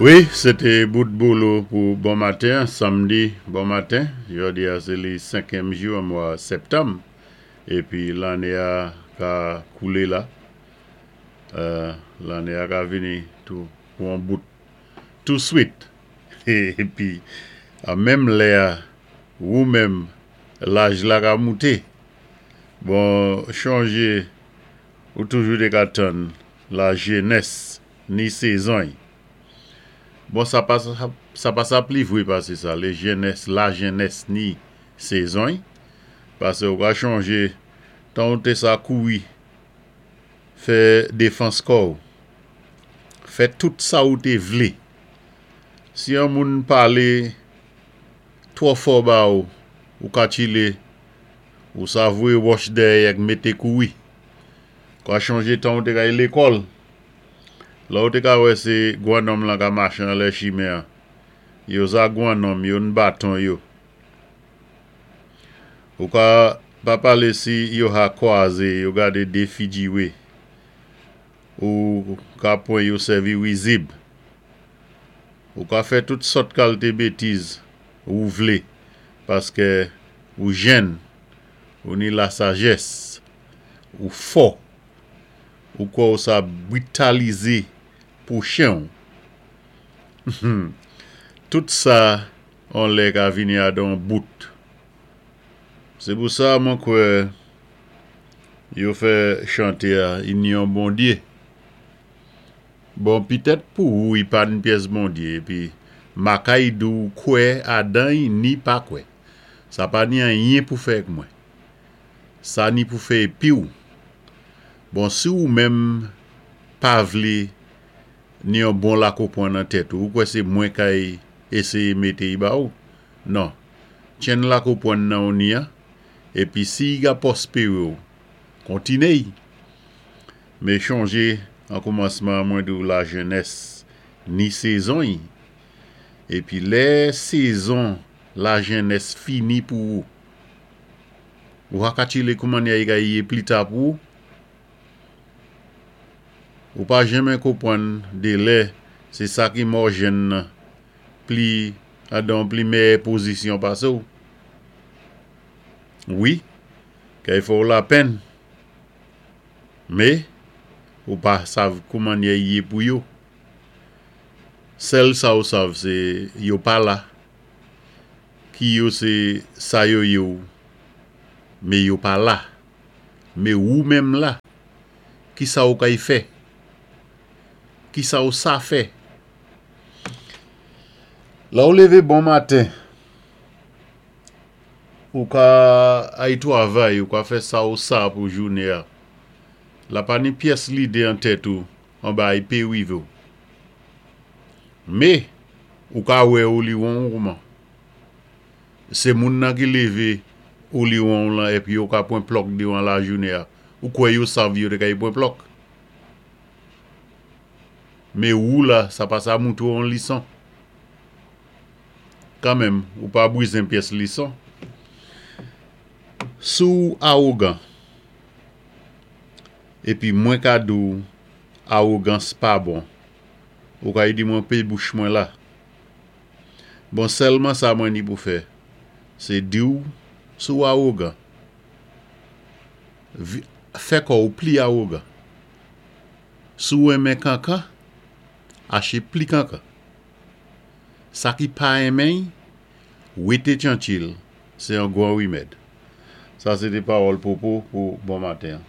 Wi, sé té bout bolo pou bon maten, samdi bon maten. Jòdi-a sé li senkyèm jou an mwa sèptanm épi lanné-a ka koulé la. Lanné-a ka vini tou pou on bout touswit. Épi an menm lè-a wou menm laj la ka mouté. Bon chonjé ou toujou té ka tann la jenès ni sezon-y. Bon sa pa sa pa sa pli vwé pasé sa, lé jenès la jenès ni sezon-y, pasé ou ka chonjé tan ou té sa kouri fè défans kò-w, fè tout sa ou té vlé. Si yon moun palé twò fò ba ou, ou ka tchilé, ou sa voyé wòch dèyè ak mété kouri. Ou ka chonjé tan ou té ka al lékòl, Lè ou té ka wè sé gwannonm lan ka maché anlè chimen an, yo za gwannonm yo n baton yo. Ou ka pa palé si yo ha kwazé yo gadé dé fidjiwé, ou ka pwan yo sèvi rizib. Ou ka fè tout sòt kalté bétiz ou vlé paskè ou jenn, ou ni lasajès, ou fò. Ou kwè ou sa britalize pwochen w. Humm tout sa on lè ka vini adan on bout. Se pou sa mwen kwè yo fè chante a inyon Bondye. Bon pitèt pou ou i pa n pyès Bondye epi makay di w kwè adan y ni pa kwè. Sa pa ni anyen pou fè ak mwen. Sa ni pou fè epiw. Bon si ou menm pa vlé ni yon bon lakopwan nan tèt ou, ou kwè sé mwen kay éséyé mété y ba ou? Non. Tchenn lakopwann nan ou ni an, épi si y ga pwospéré w, kontiné y. Mé chonjé an koumansman an mwen di w la jenès ni sezon y. Épi lè sezon la jenès fini pou ou, Ou ha ka tchile kouman ya ka yé plita pou ou. Ou pa jenmen konpwann dé lè sé sa ki mò jenn nan pli adan pli mèyè pozisyon pasé w. Wi, kay fè w lapenn, mé ou pa sav kouman ya yé pou yo. Sèl sa ou sav sé yo pa la. Ki yo se sa yo ye w me yo pa la me wou menm la kisa w kay fè kisa w sa fè lè w leve bon maten ou ka ay twavay ou ka fè sa w sa pou joune a la pa ni pyès lide an tèt ou anba ay pe rive w me Ou ka wè ou li won ou kouman. Se moun nan ki leve ou li won w lan epi yo ka pwen plòk devan lajounen a. Ou kwè yo sav yo te ka y pwen plòk. Me ou la sa pa sa moutre w on lison. Kanmenm ou pa brizen pyès lison. Si w awogan epi mwen ka di w awogans pa bon. Ou ka di mwen pe bouch mwen la. Bon sèlman sa mwen ni pou fè, sé di w si w awogan, fè kò w pli awogan. Si w renmen kankan, aché pli kankan. Sa ki pa renmen y, wété tchantchi l, sé yon gwan rimèd. Sa sé té pawòl Popo pou bon maten an.